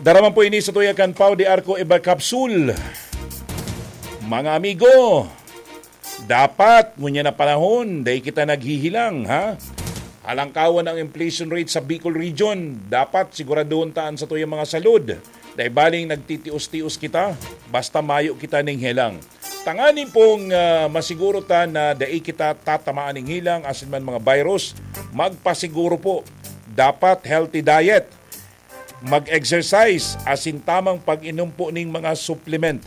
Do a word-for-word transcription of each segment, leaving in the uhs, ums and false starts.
Dara man po ini sa tuya kan Pau de Arco Iba Capsule. Mga amigo, dapat ngunyan na panahon, dai kita naghihilang, ha? Halangkawan ang inflation rate sa Bicol Region. Dapat siguraduhon ta an satuyang mga salud. Dai baling nagtitios-tios kita, basta mayo kita ning helang. Tanganing pong, ah, masiguro ta na dai kita tatamaan ning helang asin man mga virus, magpasiguro po. Dapat healthy diet, mag-exercise, asin tamang pag-inom po ning mga supplement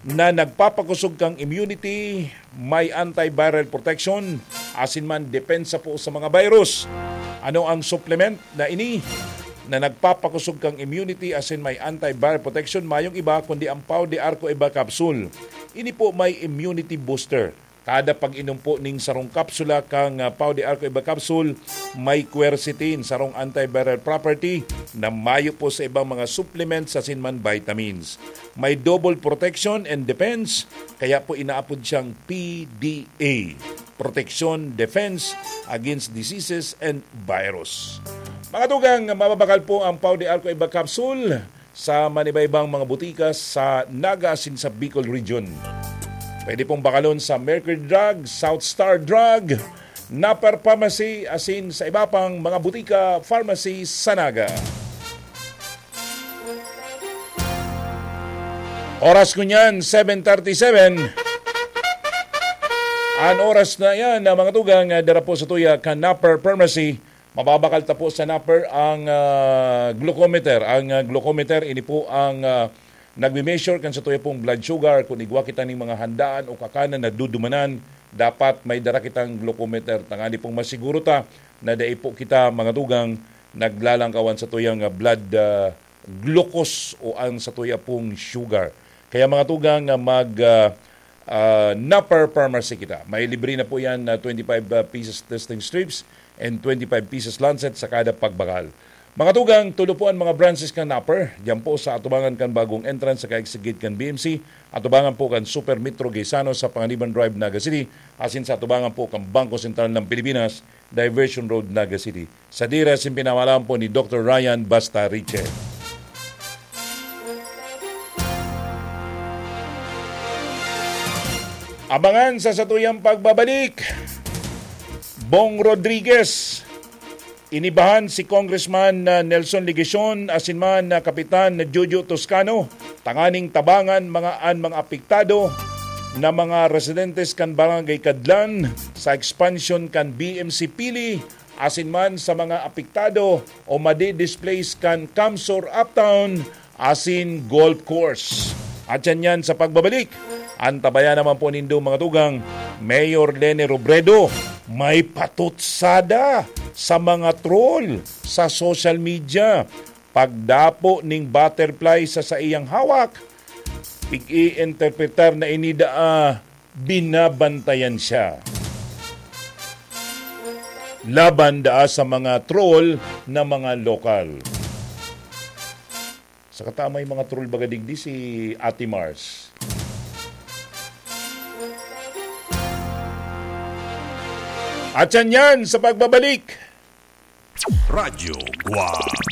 na nagpapakosog kang immunity, may antiviral protection, asin man depensa po sa mga virus. Ano ang supplement na ini na nagpapakosog kang immunity asin may antiviral protection? Mayong iba kundi ang Pau de Arco Iba Capsule. Ini po may immunity booster. Kada pag-inom po ning sarong kapsula kang, ah, Pau de Arco Iba Capsule, may quercetin, sarong antiviral property na mayo po sa ibang mga supplements asin man vitamins. May double protection and defense, kaya po inaapod siyang P D A, protection, defense against diseases and virus. Mga tugang, mababakal po ang Pau de Arco Iba Capsule sa manibaybang mga butika sa Naga asin sa Bicol Region. Pwede pong bakalon sa Mercury Drug, South Star Drug, Napper Pharmacy, asin sa iba pang mga butika, pharmacy sa Naga. Oras ko niyan, seven thirty-seven. An oras na yan, na mga tugang, ah, dara po sa tuya kan Napper Pharmacy. Mababakal ta po sa Napper ang, ah, glucometer. Ang, ah, glucometer, ini po ang, ah, nagme-measure kan sa tuya pong blood sugar. Kung igwa kita ning mga handaan o kakanan na dudumanan, dapat may dara kitang glucometer. Tangani pong masiguro ta na dai po kita, mga tugang, naglalangkawan sa tuyang, ah, blood, ah, glucose o ang sa tuya pong sugar. Kaya, mga tugang, ah, mag, ah, ah, Napper Pharmacy kita. May libre na po yan na twenty-five, ah, pieces testing strips and twenty-five pieces lancet sa kada pagbakal. Mga tugang, tulo po ang mga branches kan Napper. Diyan po sa atubangan kan bagong entrance sa kaigsigid kan B M C, atubangan po kan Super Metro Gaisano sa Panganiban Drive, Naga City, asin sa atubangan po kan Bangko Sentral ng Pilipinas, Diversion Road, Naga City. Sa dira sin pinamalaan po ni Doktor Ryan Basta Riche. Abangan sa satuyang pagbabalik, Bong Rodriguez. Inibahan si Congressman, ah, Nelson Legacion asin man, ah, Kapitan Jojo Toscano tanganing tabangan mga, an mga apektado na mga residentes kan Barangay Kadlan sa expansion kan B M C Pili asin man sa mga apektado o madi-displace kan Camsur Uptown asin Golf Course. At yan yan sa pagbabalik. Antabayan naman po nindo, mga tugang, Mayor Leni Robredo, may patutsada sa mga troll sa social media. Pagdapo ning butterfly sa saiyang hawak, pig-i-interpretar na ini daa binabantayan siya laban daa sa mga troll na mga lokal. Sa kata may mga troll baga digdi si Ate Mars. At yan yan sa pagbabalik. Radyo Guwang.